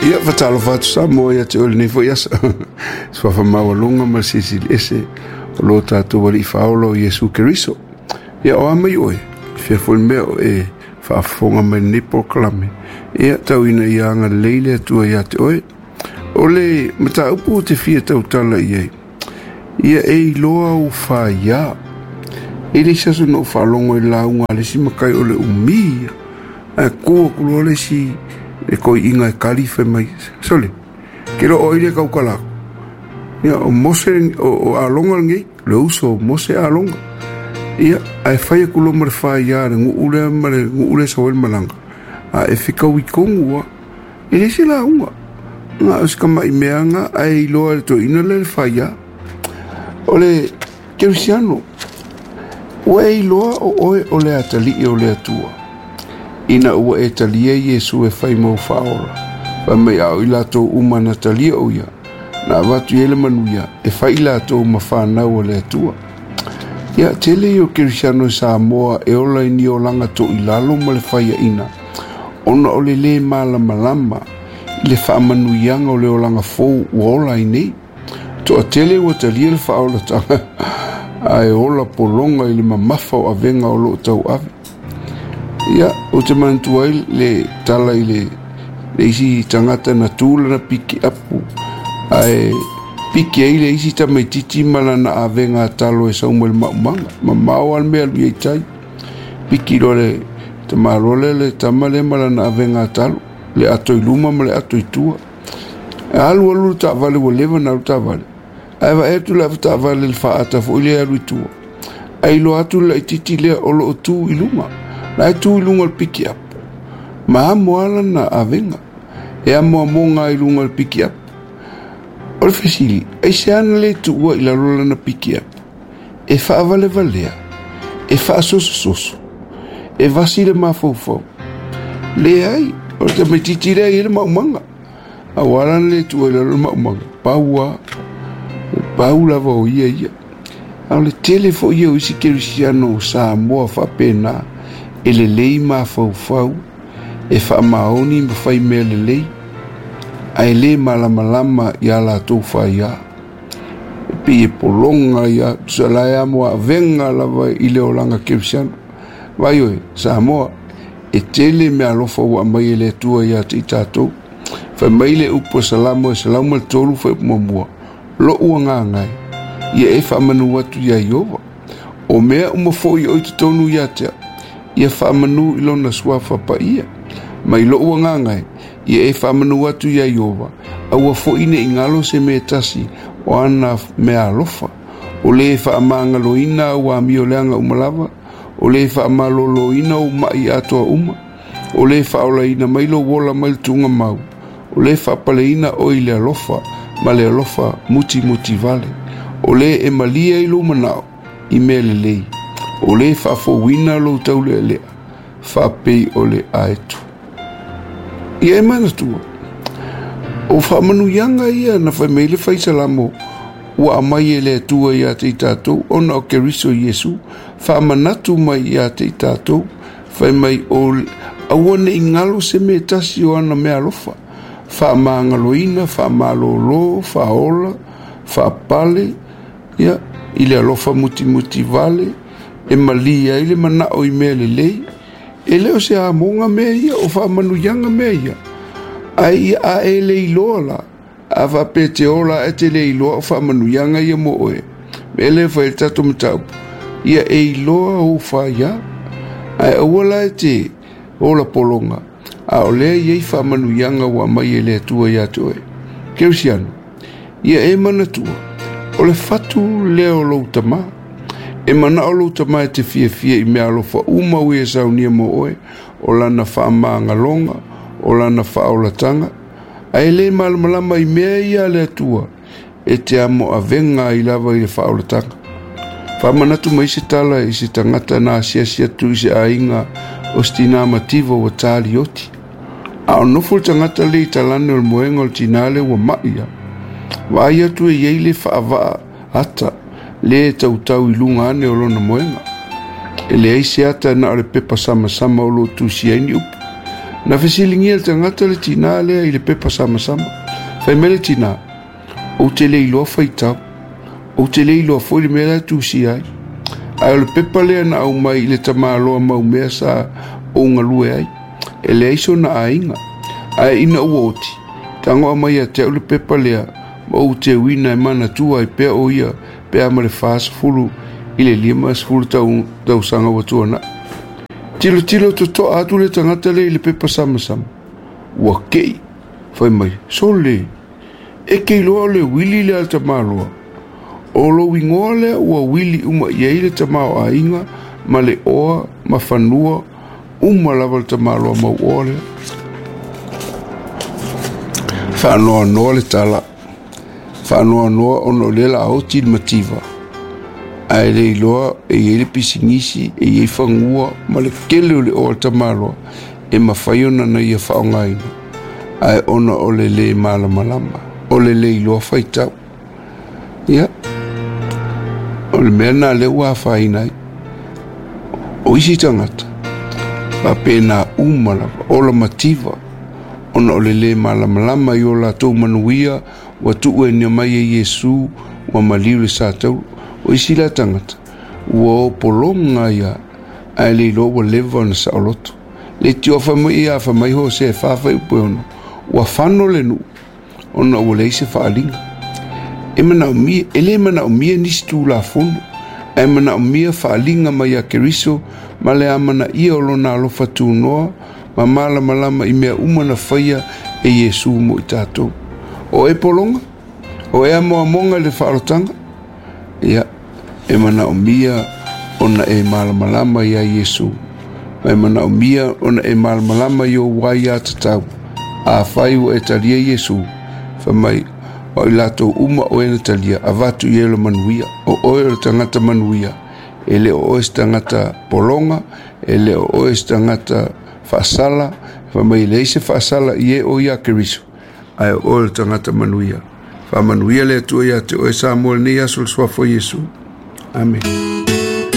Ia, faatalofa atu Samoa ia te oe i lenei foi aso. Suafa maualuga ma le Silisili Ese o lo tatou Alii Faaola o Iesu Keriso. Ia, o a mai oe, e fia foi le mea o e faafofoga mai i lenei polokalame. Ia, tau ina ia agalelei le Atua ia te oe. O le mataupu ou te fia tautala i ai, ia e iloa ou faia. E le isi aso na ou faalogo i le lauga a le isi matai o le umi ia. Ae tu atu loa le isi le toeaina e tali fai mai, sole, ke loa o ai le tautala atu. Ia, o Mose, o Alona lenei, le uso o Mose Alona. Ia, ae fai atu loa ma le faia a le nuu lea ma le nuu lea e sau ai le malaga, a e fetaui tonu lava. E le se lauga, na o se tamai mea lena, ae iloa e le toeaina lea le faia. O le Kerisiano, ua e iloa o oe o le atalii o le Atua, ina ua e talia Iesu e fai mau faaola, fai mai a o i latou uma na talia o ia, na avatu i ai le manuia e fai i latou ma fanau a le Atua. Ia, tele ia o Kerisiano i Samoa e ola i ni olaga toilalo ma le faiaina, ona o le lē malamalama i le faamanuiaga o le olaga fou ua ola ai nei. Toatele ua talia le faaolataga ae ola pologa i le mamafa o avega o lo o tauave. Ia, ou te manatua ai le tala i le isi tagata na tu lana pikiapu ae piki ai le isi tamaitiiti ma lana avega talo e sau mai le maumaga. Mamao lava le mea e alu i ai tai. Piki loa le tamaloa lea le tama lea ma lana avega talo, le ato i luma ma le ato i tua. E alu alu le taavale ua leva ona alu taavale, ae vaai atu le avetaavale i le faaata foi lea e alu i tua, ae iloa atu le laitiiti lea o lo o tu i luga. La e tu i luga o le pikiapu, ma amo lava lana avega, e amoamoga ai i luga o le pikiapu. O le fesili, aisea na le tuua i lalo lana pikiapu? E faavalevalea, e faasosososo, e vasi le mafaufau. Leai, o le tamaitiiti lea e i ai le maumaga. Aua la le tuua i lalo le maumaga, pau lava, pau lava o ia ia. A o le tele foi ia o isi kerisiano o Samoa faapena, e lelei mafaufau, e faamaoni ma fai mea lelei, ae le malamalama i a latou faia. E pei e pologa ia, tusa la e amo avega lava i le olaga kerisiano. Vaai oe, Samoa, e tele meaalofa ua aumai e le Atua ia te i tatou. Fai mai le upu a Salamo e 103 fuaiupu muamua, Lo'u agaga e, ia e faamanu atu iā Ieova. O mea uma foi o i totonu ia te au, ia faamanu i lona suafa paia. Mai lo'u agaga e, ia e faamanu atu iā Ieova, aua foi ne i galo se mea e tasi o ana meaalofa. O lē faamagaloina au amioleaga uma lava, o lē faamaloloina ou ma'i atoa uma, o lē faaolaina mai lou ola mai le tuugamau, o lē faapaleina oe i le alofa ma le alofa mutimutivale, o lē e malie ai lou manao i mea lelei, o lē faafouina lou taulealea faapei o le aeto. Ia e manatua, o faamanuiaga ia na fai mai ai le faisalamo ua aumai e le Atua ia te i tatou ona o Keriso Iesu, faamanatu mai ia te i tatou, fai mai o aua ne i galo se mea e tasi o ana meaalofa, faamagaloina, faamalolo, faaola, faapale, ia, i le alofa mutimutivale, e malie ai le manao i mea lelei. E le o se amoga mea ia, o faamanuiaga mea ia. Ae ia a e le iloa la, a faapea e te ola ae te le iloa o faamanuiaga ia mo oe, mea lea e fai ai le tatou mataupu, ia e iloa ou faia. Ae aua la e te ola pologa, a o lea e i ai faamanuiaga ua aumai e le Atua ia te oe. Kerisiano, ia e manatua, o le fatu lea o lou tama. E manao lou tama e te fiafia i meaalofa uma ua ia saunia mo oe, o lana faamagaloga, o lana faaolataga, ae le malamalama i mea ia a le Atua, e te amo avega ai lava i le faaolataga. Faamanatu mai se tala i se tagata na asiasi atu i se aiga o se tinā mativa ua talioti. A o nofo le tagata lea i talane o le moega o le tinā lea ua ma'i ia. Vaai atu e i ai le faavaa ata lea e tautau i luga ane o lona moega. E leai se ata na o le pepa samasama o lo o tusia ai ni upu. Na fesiligia e le tagata le tinā lea i le pepa samasama. Fai mai le tinā, Ou te le iloa faitau. Ou te le iloa foi le mea la e tusia ai. Ae o le pepa lea na aumai i le tamaloa maumea sa ou galue ai. E leai sona aiga. Ae ina ua oti, tagoa mai ia te au le pepa lea ma ou teuina e manatua ai pea o ia pe a ma le 40 i le 50 tausaga ua tuanai. Tilotilo totoa atu le tagata lea i le pepa samasama. Ua kei, fai mai, Sole, e te iloa o le uili lea a le tamaloa. O lou igoa lea ua uili uma i ai le tamaoaiga ma le oa ma fanua uma lava le tamaloa mauoa lea. Faanoanoa le tala, faanoanoa ona o lea o le a oti le mativa, ae le iloa e i ai le pisinisi, e i ai fanua ma le tele o le oa a le tamaloa e mafai ona na ia faaaogaina, ae ona o le lē malamalama, o le le iloa faitau. Ia, o le mea lena lea ua afaina ai. O isi tagata, faapena uma lava, ola mativa, ona o le lē malamalama i o latou manuia ua tuuina mai e Iesu ua maliu i le satauro. O isi la tagata, ua o pologa ai lava, ae le iloa ua leva ona saoloto. Le tiofa mai ia fai mai Hosea e 4 fuaiupu e 6, ua fano le nuu ona ua leai se faaaliga. E manaomia, e le manaomia nisi Tulafono, ae manaomia faaaliga mai ia Keriso ma le amanaia o lona alofa tunoa ma malamalama i mea uma na faia e Iesu mo i tatou. O e pologa? O e amoamoga i le faaolotaga? Ia, e manaomia ona e malamalama iā Iesu, ma e manaomia ona e malamalama i ou aiatatau. Afai ua e talia Iesu, fai mai, o i latou uma o e na talia, avatu i ai lo manuia. O oe o le tagata manuia, e le o oe se tagata pologa, e le o oe se tagata faasala, fai mai e leai se faasala i e o iā Keriso, ae o oe o le tagata manuia. Faamanuia le Atua iā te oe Samoa i lenei aso i le suafa o Iesu. Amene.